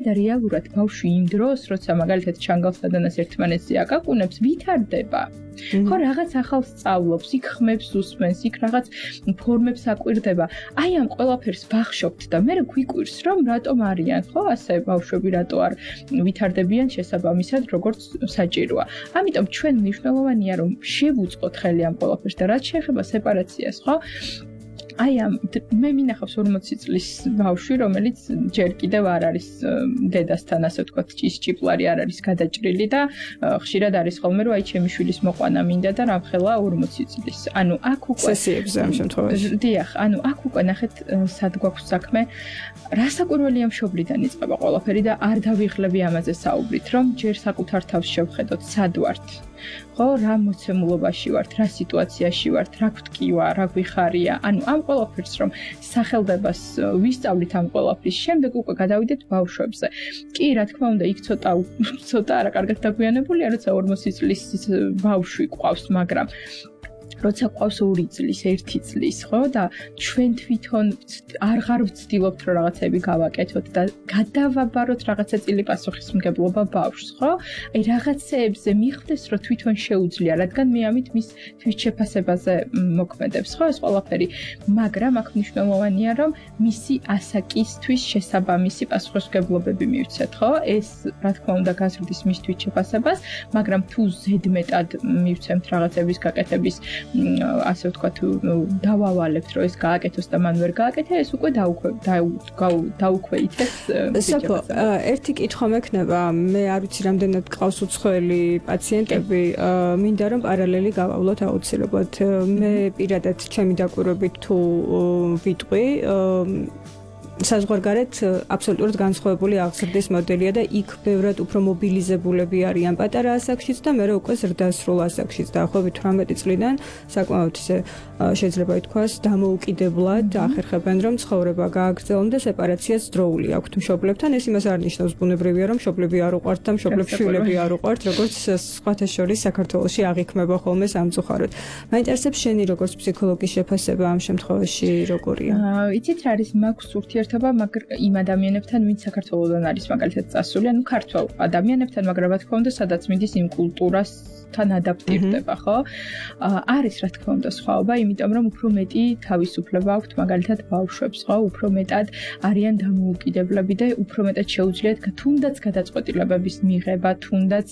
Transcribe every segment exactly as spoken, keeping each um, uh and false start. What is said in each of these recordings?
და რეალურად ბავშვი იმ დროს, როცა მაგალითად ჩანგალს დადანას ერთმანეთზე აკაკუნებს, ვითარდება. ხო, რაღაც ახალს სწავლობს, იქ ხმებს უსმენს, იქ რაღაც ფორმებს აკვირდება. აი ამ ყველაფერს ვახშობთ და მე გვიკვირს, რომ რატომ არიან, ხო, ასე ბავშვები რატო არ ვითარდებიან შესაბამისად, როგორც საჭიროა. ამიტომ ჩვენ მნიშვნელოვანია, რომ შევუწყოთ ხელი ამ ყველაფერს და რაც შეეხება სეპარაციას, ხო? აი ამ მე მინახავს ორმოცი წლის ბავშვი, რომელიც ჯერ კიდევ არ არის დედასთან, ასე ვთქვათ, ჭისჭიპლარი არ არის გადაჭრილი და ხშირად არის ხოლმე, რომ აი ჩემი შვილის მოყვანა მინდა და რამხელა ორმოცი წლის. ანუ აქ უკვე სესიებზე ამ შემთხვევაში. დიახ, ანუ აქ უკვე ნახეთ სად გვაქვს საქმე. რასაკვირველია მშობლიდან იწყება ყველაფერი და არ დავიღლები ამაზე საუბრით, რომ ჯერ საკუთარ თავს შევხედოთ, სად ვართ. ხო, რა მოცემულობაში ვართ, რა სიტუაციაში ვართ, რა გვტკივა, რა გვიხარია. ანუ ამ ყველაფერს რომ სახელდებას ვისწავლით ამ ყველაფრის შემდეგ უკვე გადავიდეთ ბავშვებზე. კი, რა თქმა უნდა, იქ ცოტა ცოტა არა კარგად დაგვიანებულია, როცა ორმოცი წლის ბავშვი ყავს, მაგრამ როცა ყავს ორი წლის, ერთი წლის, ხო? და ჩვენ თვითონ აღარ ვცდილობთ რომ რაღაცები გავაკეთოთ და გადავაბაროთ რაღაცა წილი პასუხისმგებლობა ბავშვს, ხო? აი რაღაცეებზე მიხვდეს რომ თვითონ შეუძლია, რადგან მე ამით მის თვითშეფასებაზე მოქმედებს, ხო? ეს ყველაფერი, მაგრამ აქ მნიშვნელოვანია რომ მისი ასაკისთვის შესაბამისი პასუხისმგებლობები მივცეთ, ხო? ეს რა თქმა უნდა გაზრდის მის თვითშეფასებას, მაგრამ თუ ზედმეტად მივცემთ რაღაცების გაკეთების ასე ვთქვათ, დავავალებთ, რომ ეს გააკეთოს და მან ვერ გააკეთა, ეს უკვე დაუქვეითებს. საფო, ერთი კითხვა მექნება, მე არ ვიცი რამდენად გყავს უცხოელი პაციენტები, მინდა რომ პარალელი გავავლოთ აუცილებლად. მე პირადად ჩემი დაკვირვებით თუ ვიტყვი, საზღვარგარეთ აბსოლუტურად განსხვავებული აღზრდის მოდელია და იქ ბევრად უფრო მობილიზებულები არიან პატარა ასაკშიც და მე უკვე ზრდასრულ ასაკშიც დაახლოებით თვრამეტი წლიდან საკმაოდ ისე შეიძლება ითქვას დამოუკიდებლად ახერხებენ რომ ცხოვრება გააგრძელონ და სეპარაციაც დროული აქვთ მშობლებთან. ეს იმას არ ნიშნავს ბუნებრივია რომ მშობლები არ უყვართ და მშობლებს შვილები არ უყვართ, როგორც სხვათა შორის საქართველოში აღიქმება ხოლმე სამწუხაროდ. მაინტერესებს შენი როგორც ფსიქოლოგის შეფასება ამ შემთხვევაში როგორია? იცით რა არის მაქვს ურთიერთობა იმ ადამიანებთან, ვინც საქართველოსდან არის მაგალითად წასული, ანუ ქართველ ადამიანებთან, მაგრამ რა თქმა უნდა, სადაც მიდის იმ კულტურას თან ადაპტირდება, ხო? არის რა თქმა უნდა სხვაობა, იმიტომ რომ უფრო მეტი თავისუფლება აქვთ მაგალითად ბავშვებს, ხო? უფრო მეტად არიან დამოუკიდებლები და უფრო მეტად შეუძლიათ თუნდაც გადაწყვეტილებების მიღება, თუნდაც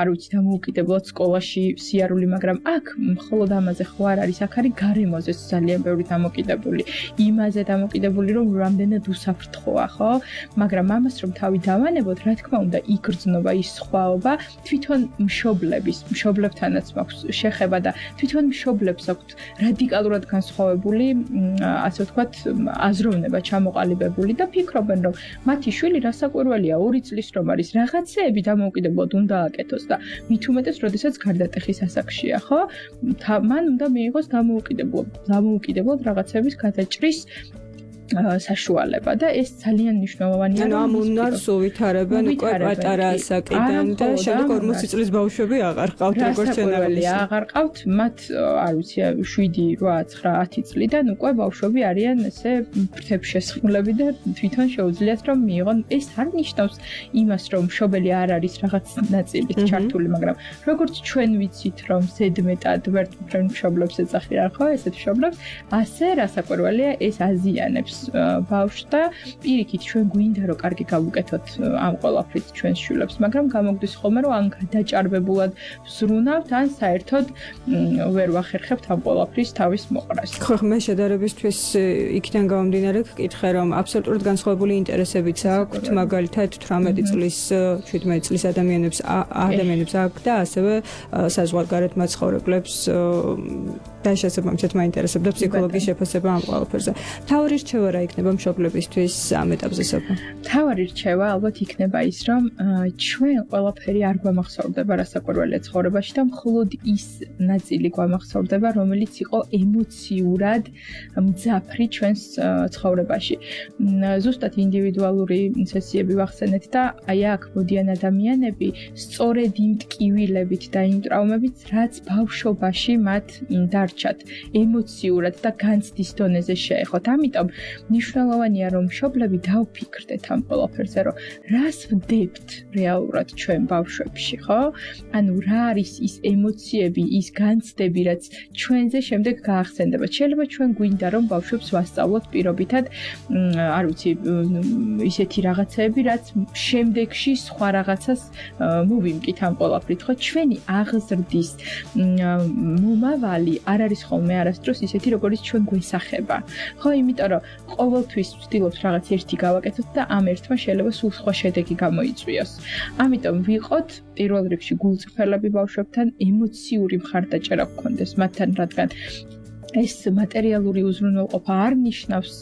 არ ვიცი, დამოუკიდებლად სკოლაში სიარული, მაგრამ აქ მხოლოდ ამაზე ხო არ არის, აქ არის გარემოზე ძალიან ბევრი დამოკიდებული, იმაზე დამოკიდებული, რომ რამდენად უსაფრთხოა, ხო? მაგრამ ამას რომ თავი დავანებოთ, რა თქმა უნდა, იგრძნობა ის სხვაობა თვითონ მშობლებს მშობლებთანაც მაქვს შეხება და თვითონ მშობლებს აქვთ რადიკალურად განსხვავებული, ასე ვთქვათ, აზროვნება ჩამოყალიბებული და ფიქრობენ, რომ მათი შვილი რასაკვირველია, ორი წლის რომ არის, რაღაცეები დამოუკიდებლად უნდა აკეთოს და მით უმეტეს, როდესაც გარდატეხის ასაკშია, ხო? მან უნდა მიიღოს დამოუკიდებლად, დამოუკიდებლად რაღაცების გადაჭრის საშუალება და ეს ძალიან მნიშვნელოვანია. ანუ ამ უნარს უვითარებენ უკვე პატარა ასაკიდან და შემდეგ ორმოცი წლის ბავშვები აღარ ყავთ როგორც ჩვენაგვარია. აღარ ყავთ, მათ არ ვიცი შვიდი, რვა, ცხრა, ათი წლიდან უკვე ბავშვები არიან ესე ფრთებშესხმულები და თვითონ შეუძლიათ რომ მიიღონ. ეს არ ნიშნავს იმას, რომ მშობელი არ არის რაღაც ნაწილით ჩართული, მაგრამ როგორც ჩვენ ვიცით, რომ ზედმეტად ვერთ მშობლებს ეძახიან, ხო, ესეთ მშობლებს, ასე რასაკვირველია ეს აზიანებს ბავშვს და პირიქით ჩვენ გვინდა რომ კარგი გავუკეთოთ ამ ყველაფრით ჩვენს შვილებს, მაგრამ გამოგდის ხოლმე რომ ან გადაჭარბებულად ვზრუნავთ, ან საერთოდ ვერ ვახერხებთ ამ ყველაფრის თავის მოყრას. ხო, მე შედარებისთვის იქიდან გამომდინარე ვკითხე, რომ აბსოლუტურად განსხვავებული ინტერესებიც აქვთ, მაგალითად თვრამეტი წლის, შვიდმეტი წლის ადამიანებს ადამიანებს აქვთ და ასევე საზღვარგარეთ მაცხოვრებლებს და შესაბამისად მაინტერესებდა ფსიქოლოგიის შეფასება ამ ყველაფერზე. მთავარი რჩევა რა იქნება მშობლებისთვის ამ ეტაპზე საფო? მთავარი რჩევა ალბათ იქნება ის, რომ ჩვენ ყველაფერი არ გვამახსოვრდება რასაკვირველია ცხოვრებაში და მხოლოდ ის ნაწილი გვამახსოვრდება, რომელიც იყო ემოციურად მძაფრი ჩვენს ცხოვრებაში. ზუსტად ინდივიდუალური სესიები ვახსენეთ და აი აქ მოდიან ადამიანები სწორედ იმ ტკივილებით და იმ ტრავმებით, რაც ბავშვობაში მათ დარჩა. დარჩათ ემოციურად და განცდის დონეზე შეეხოთ. ამიტომ მნიშვნელოვანია რომ მშობლები დაუფიქრდეთ ამ ყველაფერზე, რომ რას ვდებთ რეალურად ჩვენ ბავშვებში, ხო? ანუ რა არის ის ემოციები, ის განცდები, რაც ჩვენზე შემდეგ გაახსენდება. შეიძლება ჩვენ გვინდა რომ ბავშვებს ვასწავლოთ პირობითად, არ ვიცი, ისეთი რაღაცეები, რაც შემდეგში სხვა რაღაცას მოვიმკით ამ ყველაფრით, ხო? ჩვენი აღზრდის მომავალი არ არის ხოლმე არასდროს ისეთი, როგორც ჩვენ გვესახება. ხო, იმიტომ რომ ყოველთვის ვცდილობთ რაღაც ერთი გავაკეთოთ და ამ ერთმა შეიძლება სულ სხვა შედეგი გამოიწვიოს. ამიტომ ვიყოთ პირველ რიგში გულწრფელები ბავშვებთან, ემოციური მხარდაჭერა გქონდეს მათთან, რადგან ეს მატერიალური უზრუნველყოფა არ ნიშნავს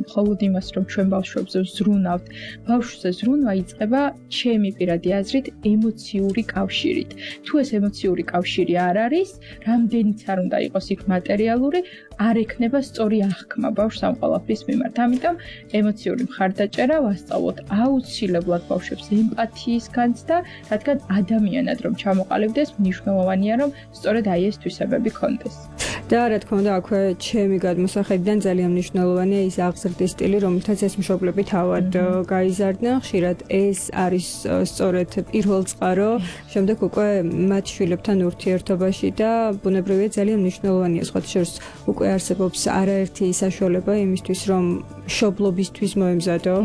მხოლოდ იმას, რომ ჩვენ ბავშვებზე ვზრუნავთ. ბავშვზე ზრუნვა იწყება ჩემი პირადი აზრით ემოციური კავშირით. თუ ეს ემოციური კავშირი არ არის, რამდენიც არ უნდა იყოს იქ მატერიალური, არ ექნება სწორი აღქმა ბავშვს ამ ყველაფრის მიმართ. ამიტომ ემოციური მხარდაჭერა ვასწავლოთ აუცილებლად ბავშვებს ემპათიის განცდა, რადგან ადამიანად რომ ჩამოყალიბდეს, მნიშვნელოვანია რომ სწორედ აი ეს თვისებები ქონდეს. და რა თქმა უნდა, აქვე ჩემი გადმოსახედიდან ძალიან მნიშვნელოვანია ის აღზრდის სტილი, რომელთაც ეს მშობლები თავად გაიზარდნენ. ხშირად ეს არის სწორედ პირველ წყარო, შემდეგ უკვე მათ შვილებთან ურთიერთობაში და ბუნებრივია ძალიან მნიშვნელოვანია სხვათა შორის უკვე არსებობს არაერთი საშუალება იმისთვის, რომ მშობლობისთვის მოემზადო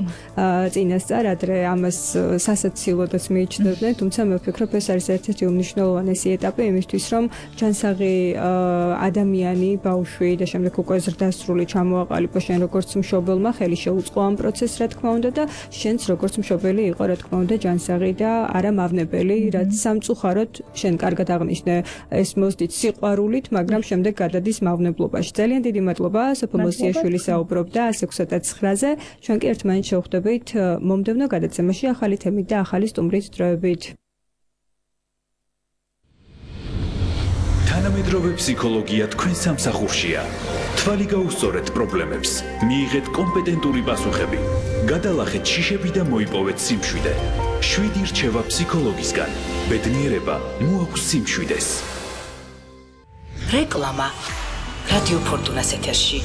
წინასწარ, ადრე ამას სასაცილოდაც მიიჩნევდნენ, თუმცა მე ვფიქრობ, ეს არის ერთ-ერთი უმნიშვნელოვანესი ეტაპი იმისთვის, რომ ჯანსაღი ადამიანი, ბავშვი და შემდეგ უკვე ზრდასრული ჩამოაყალიბო შენ როგორც მშობელმა, ხელი შეუწყო ამ პროცესს, რა თქმა უნდა და შენც როგორც მშობელი იყო, რა თქმა უნდა, ჯანსაღი და არა მავნებელი, რაც სამწუხაროდ შენ კარგად აღნიშნე, ეს მოსდით სიყვარულით, მაგრამ შემდეგ გადადის მავნებლობაში. ძალიან დიდი მადლობა, სოფო მოსიაშვილი საუბრობდა ასე ოცდაათზე. ჩვენ კი ერთმანეთს შევხვდებით მომდევნო გადაცემაში ახალი თემით და ახალი სტუმრით დროებით. თანამედროვე ფსიქოლოგია თქვენ სამსახურშია. თვალი გაუსწორეთ პრობლემებს, მიიღეთ კომპეტენტური პასუხები, გადალახეთ შიშები და მოიპოვეთ სიმშვიდე. შვიდი რჩევა ფსიქოლოგისგან. ბედნიერება მოაქვს სიმშვიდეს. რეკლამა რადიო ფორტუნას ეთერში.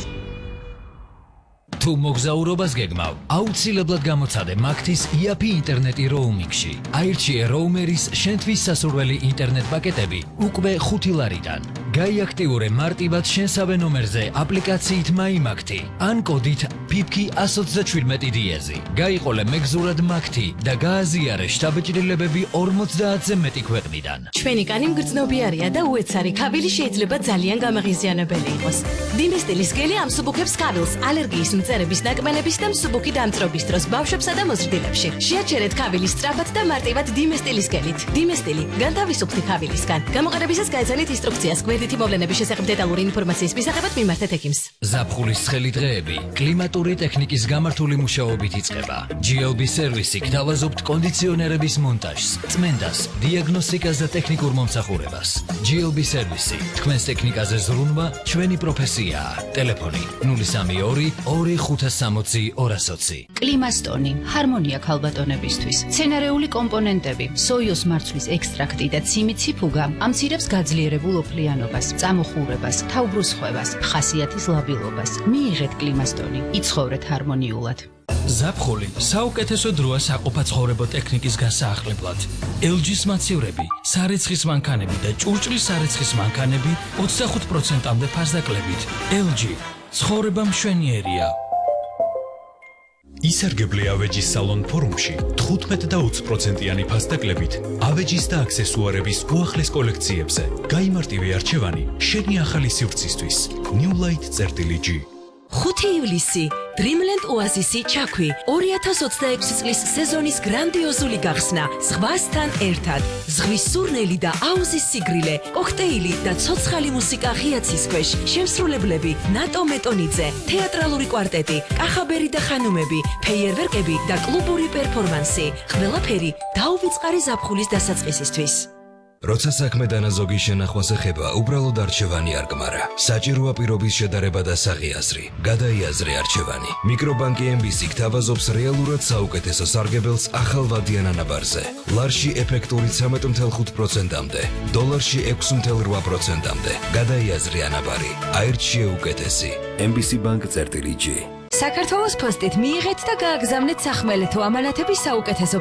თუ მოგზაურობას გეგმავ, აუცილებლად გამოცადე მაგთის იაფი ინტერნეტი როუმინგში. აირჩიე როუმერის შენთვის სასურველი ინტერნეტ პაკეტები უკვე ხუთი ლარიდან. გაიაქტიურე მარტივად შენსავე ნომერზე აპლიკაციით მაიმაგთი ან კოდით ფიფკი εκατს ოცდაშვიდმეტი დიეზი. გაიყოლე მეგზურად მაგთი და გააზიარე შთაბეჭდილებები ორმოცდაათზე მეტი ქვეყნიდან. ჩვენი კანი მგრძნობიარია და უეცარი ქავილი შეიძლება ძალიან გამაღიზიანებელი იყოს. დინესტილის გელი ამსუბუქებს ქავილს ალერგიის მწერების ნაკმენების და მსუბუქი დამწრობის დროს ბავშვებსა და მოზრდილებში. შეაჩერეთ ქავილის სწრაფად და მარტივად დინესტილის გელით. დინესტილი განთავისუფლდი ქავილისგან. გამოყენებისას გაეცანით ინსტრუქციას გვერდითი მოვლენების შესახებ დეტალური ინფორმაციის მისაღებად მიმართეთ ექიმს. ზაფხულის ცხელი დღეები კლიმატური ტექნიკის გამართული მუშაობით იწყება. ჯი ელ ბი სერვისი გთავაზობთ კონდიციონერების მონტაჟს, წმენდას, დიაგნოსტიკას და ტექნიკურ მომსახურებას. ჯი ელ ბი სერვისი, თქვენს ტექნიკაზე ზრუნვა ჩვენი პროფესიაა. ტელეფონი ნული სამი ორი ორი ხუთას სამოცი ორას ოცი. კლიმასტონი, ჰარმონია ქალბატონებისთვის. მცენარეული კომპონენტები, სოიოს მარცვლის ექსტრაქტი და ციმიციფუგა ამცირებს გაძლიერებულ ოფლიანობას, წამოხურებას, თავბრუსხვევას, ხასიათის ლაბილობას. მიიღეთ კლიმასტონი, იცხოვრეთ ჰარმონიულად. ზაფხული საუკეთესო დროა საყოფაცხოვრებო ტექნიკის გასაახლებლად. ელ ჯის მაცევრები, სარეცხის მანქანები და ჭურჭლის სარეცხის მანქანები ოცდახუთ პროცენტამდე ფასდაკლებით. ელ ჯი ცხოვრება მშვენიერია. ისარგებლე ავეჯის სალონ ფორუმში თხუთმეტ და ოცი პროცენტიანი ფასდაკლებით ავეჯის და აქსესუარების უახლეს კოლექციებზე. გაიმარტივე არჩევანი შენი ახალი სივრცისთვის. New Light წერტილი ჯი. ხუთი ივლისი Dreamland Oasis-ი ჩაქვი ორი ათას ოცდაექვსი წლის სეზონის გრანდიოზული გახსნა ზღვასთან ერთად. ზღვის სურნელი და აუზის სიგრილე, კოქტეილი და ცოცხალი მუსიკა ღიაცის ქვეშ. შემსრულებლები ნატო მეტონიძე, თეატრალური კვარტეტი, კახაბერი და ხანუმები, ფეიერვერკები და კლუბური პერფორმანსი. ყველაფერი დაუვიწყარი ზაფხულის დასაწყისისთვის. როცა საქმე დანაზოგის შენახვას ეხება, უბრალოდ არჩევანი არ გმარა. საჭიროა პირობის შედარება და საღიაზრი. გადაიაზრე არჩევანი. მიკრობანკი ემ ბი სი გთავაზობს რეალურად საუკეთესო სარგებელს ახალ ვადიან ანაბარზე. ლარში ეფექტური ცამეტ ათი თხუთმეტ პროცენტამდე, დოლარში ექვსი ათი რვა პროცენტამდე. გადაიაზრე ანაბარი. აირჩიე უკეთესი. ემ ბი სი ბანკ წერტილი ჯი. საქართველოს ფოსტით მიიღეთ და გააგზავნეთ სახმელეთო ამანათების საუკეთესო